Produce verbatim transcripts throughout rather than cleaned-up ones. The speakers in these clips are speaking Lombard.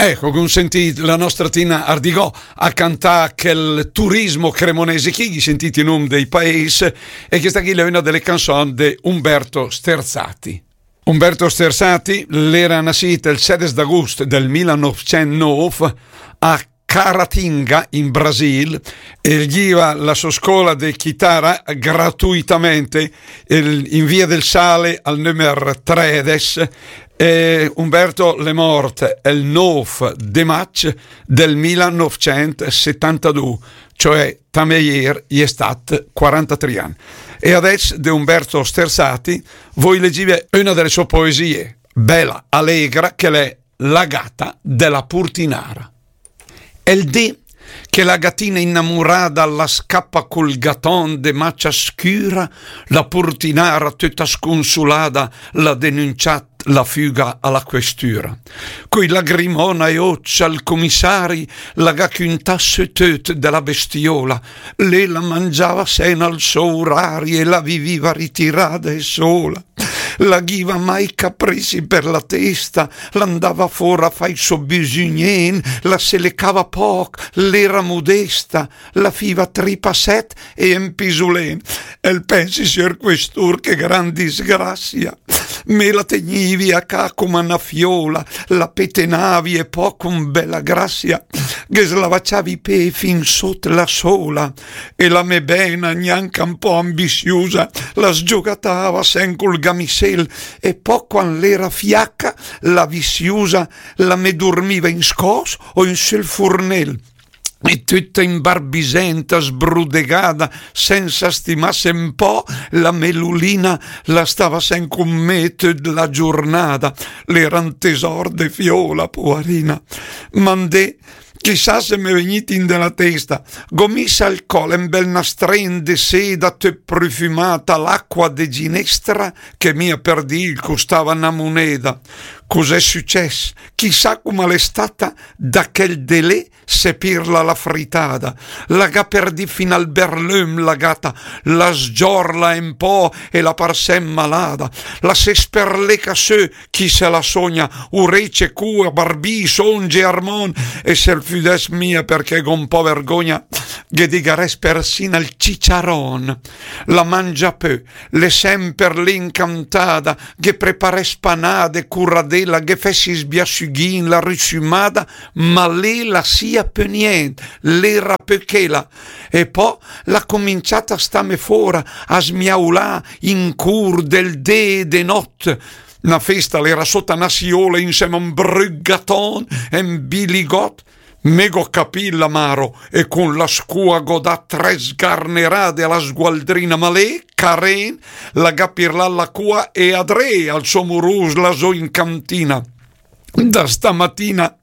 Ecco, gh'um sentìt la nostra Tina Ardigò a cantà chel turismo cremonese chì, ghì sentìt i num dei paesi, e chesta chì l'è una delle canzoni de Umberto Sterzati. Umberto Sterzati l'era nassìt el sedes d'agust del mila nûfcent nûf a Caratinga, in Brasil, e el ghiva la sua scola de chitara gratuitamente, el, in via del Sale al numer tredes, e Umberto l'è mort el nûf de maig del mila nûfcent setantadù, cioè tamé ier i è stat quarantatrì ann. E adess de Umberto Sterzati voi legive una delle sue poesie, bella, allegra, che l'è La gata de la purtinara. El dé che la gatina inamurada la scapa cul gaton de macia scüra, la purtinara töta scunsulada l'à denunciat la füga a la questüra. Coi lagrimon ai öcc al comissari la gh'à cüntà sö töt de la bestiola. Lé la mangiava sena al so urari e la viviva ritirada e sola. La ghiva mai caprizi per la testa, l'andava fora a fà i so bisugnén, la se lecava poc, l'era modesta, la fiva tri passet e en pisulén. El pensi, sior questùr, che gran disgrasia. Me la tegnivi a cà coma na fiola, la petenavi e po con bella grasia ghe slavaciavi i pé fin sot la sola. E la me bena, gnanca un po' ambisiusa, la sgiogatava sen cul gamisel, e po quan l'era fiaca, la visiusa, la me durmiva in scos o in sul furnel. E töta imbarbisenta, sbrudegada, sensa stimass un po', la me Lulina la stava sen con me töt la giurnada. L'era un tesor de fiola, puarina. Mandé, chissà se m'è vegnìt in de la testa, gh'ó miss al col un bel nastrén de seda töt prufumata, l'acqua de ginestra, che mia per dì el custava na muneda. Cus'è sücess? Chissà coma l'è stata da chel dé lé se pirla la fritada. La gh'à perdì fin al berlüm la gata, la sgiorla un po' e la par sem malada. La se sperleca sö, chi se la sogna, urece, cua, barbì, songe, armon, e se 'l füdess mia perché gh'ó un po' vergogna, ghe digaress persin al ciciaron. La mangia pö, l'è semper lé incantada, ghe preparess panade, curadela, ghe fess i sbiasüghin, la rusümada, ma lé la sia pö nient, l'era pö chela. E po l'à cominciat a stame fora, a smiaulà in cur del dé e de not. Na festa l'era sota na siola insema a un brüt gaton e un biligot. Me gh'ó capì l'amaro e con la scua gh'ó dat tre sgarnerade a la sgualdrina, ma lé, caren, la gh'à pirlat la cua e adré al so murus là zó in cantina. Da stamatina,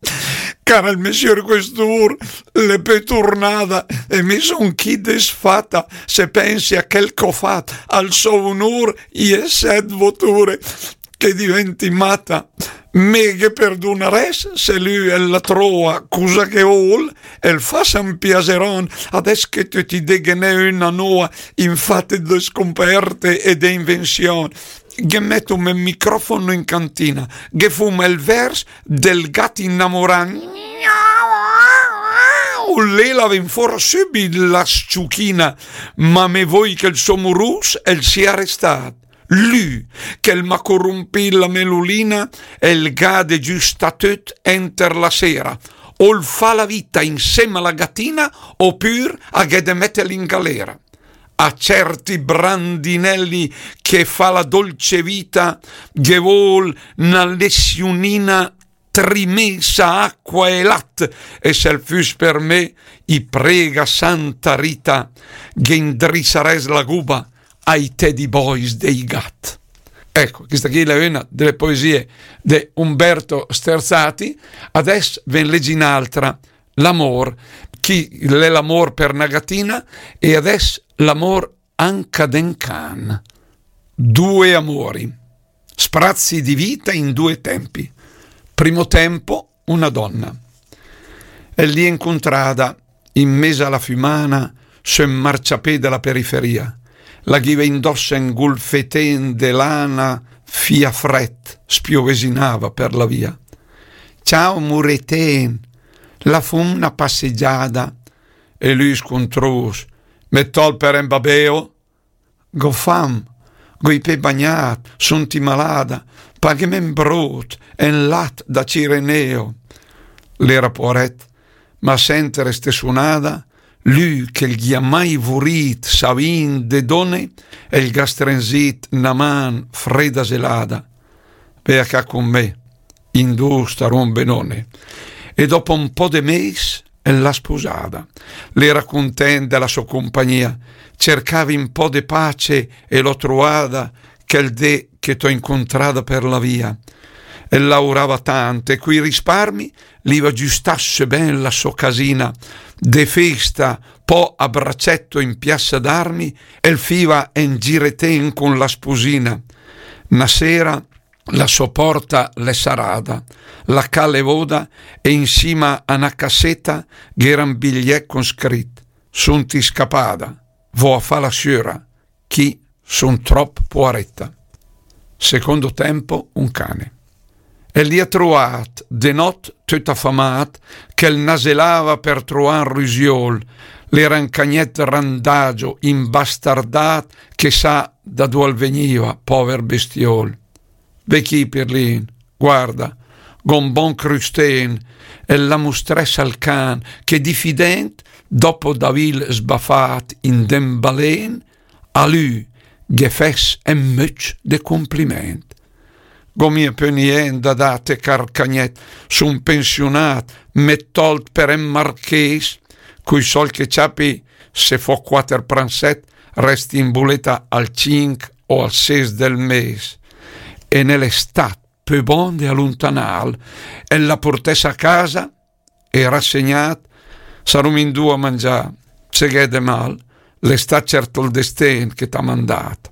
cara el me sior questùr, l'è pö turnada e me son chì desfata, se pensi a chel ch'ó fat, al so unur i è set voture. Che diventi mata. Me ghe perdunaress se lü el la troa, cusa che 'l völ, el fas un piaseron, adess che töt i dé ghe n'è una noa, in fat de scomperte e de invension. Ghe mettum el microfono in cantina, ghe fum el vers del gat inamorà. Lé la ven fora sübit la sciuchina, ma me voi che 'l so murus el sia restat. Lü, che 'l m'à corumpì la me Lulina, el gh'à de giustà töt enter la sera. O 'l fa la vita insema a la gatina, opür a gh'è de mettel in galera. A certi brandinelli che fa la dolce vita, ghe völ na lesiunina trimesa acqua e lat, e se 'l füss per me, i prega Santa Rita, ghe indrissaress la guba ai teddy boys dei gat. Ecco, questa qui è una delle poesie di Umberto Sterzati. Adess ve 'n legi n'altra, L'amor, chi l'è l'amor per na gatina, e adess l'amor anca d'en can. Due amori. Sprazzi di vita in due tempi. Primo tempo, una donna. El l'è incuntrada in mez a la fümana sö 'n marciapè de la periferia. La ghiva indoss en gulfeten de lana, fia fret, spiovesinava per la via. Ciao, muretén, la fum na passegiada. E lü scuntrus: Me tòlt per en babeo? Go fam, go i pé bagnat, sunti malada, paghém en brut en lat da cireneo. L'era poaret, ma a senter ste sunada, lü che 'l gh'ìa mai vurit savì de done, el gh'à strenzit na man freda zelada. Ve a cà cun me, in du starum benone. E dopo un po' de mes, el l'à spusada. L'era cuntent de la so compagnia, cercavi un po' de pace e l'ho trovada quel dé che t'ho incontrada per la via. El laurava tant e cui risparmi l'iva giustasse ben la so casina, de festa, po a bracetto in piazza d'armi, el fiva en giretén con la spusina. Na sera la so porta l'è sarada, la cà l'è voda e in sima a na casseta gh'era un bigliet con scrit: Sunti scapada, vo a fa la siura, chi sun trop poareta. Secondo tempo, un cane. E l'ìa troat de not töt afamat, che 'l naselava per troà un rusiol, l'era un cagnet randagio, imbastardat, che sa da dual vegniva, pover bestiol. Ve chi, Pirlin, guarda, gon bon crustén, e la mustress al can, che diffident, dopo d'avil sbafat in den balen, a lü ghe fess en möcc de compliment. Go mia pö nient da date, car cagnet, sun pensiunat, me tolt per en marchés, cui sold che ciapi, se fo quater pranset, resti in buleta al cinc o al ses del mes. E ne l'è stat pö bon de aluntanal, el la portess a casa, e rassegnat, sarum in du a mangià, se gh'è de mal, l'è stat cert ol desten che t'ha mandat.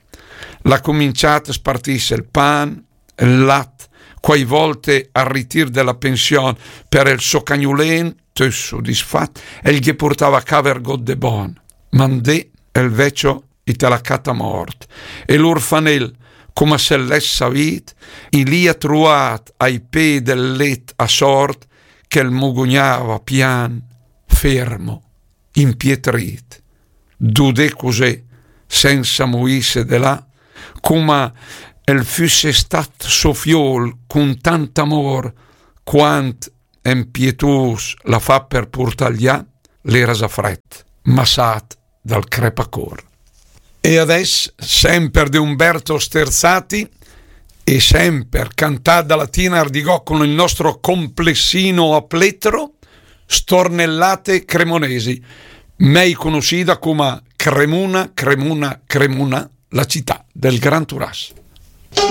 L'ha cominciat a spartiss el pan, el lat, quai volte al ritir de la pension, per el so cagnulen, töt sodisfat, el ghe portava a cà vergot de bon. Mandé el vecio i te la cata mort. E l'urfanel, coma se l'ès savit, i l'ìa truat ai pé del let a sort, che el mugugnava pian, fermo, impietrit. Dudé cusé, sensa muisse de là, coma el füsse stat so fiol cun tant amor, quant en pietus l'ha fat per purtal là, l'era za fret, massat dal crepacor. E adess, semper de Umberto Sterzati, e semper cantat da la Tina Ardigò con il nostro complessino a plettro, Stornellate Cremonesi, mei conoscida coma Cremuna, Cremuna, Cremuna, la città del Gran Turas.